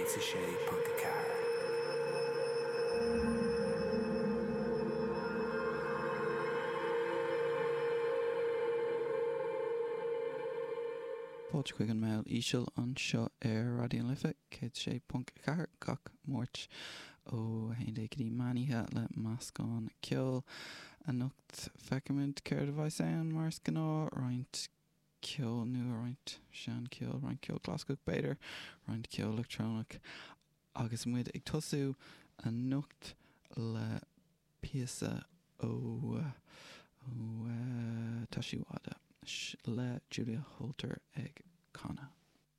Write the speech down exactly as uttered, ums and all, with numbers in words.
céad a sé ponc a ceathair. Fáilte chuig an Meall Íseal anseo ar Raidió na Life céad sé ponc a ceathair gach Máirt ó haon déag go dtí meán oíche le meascán ceoil. Anocht feicfimid céard a bheas ann mar is gnáth roinnt ceol nua roinnt seancheol, roinnt ceol clasaiceach b'fhéidir, roinnt ceol leictreonach agus muid ag tosú anocht le píosa ó ó Tá sí Wada le Julia Holter ag canadh.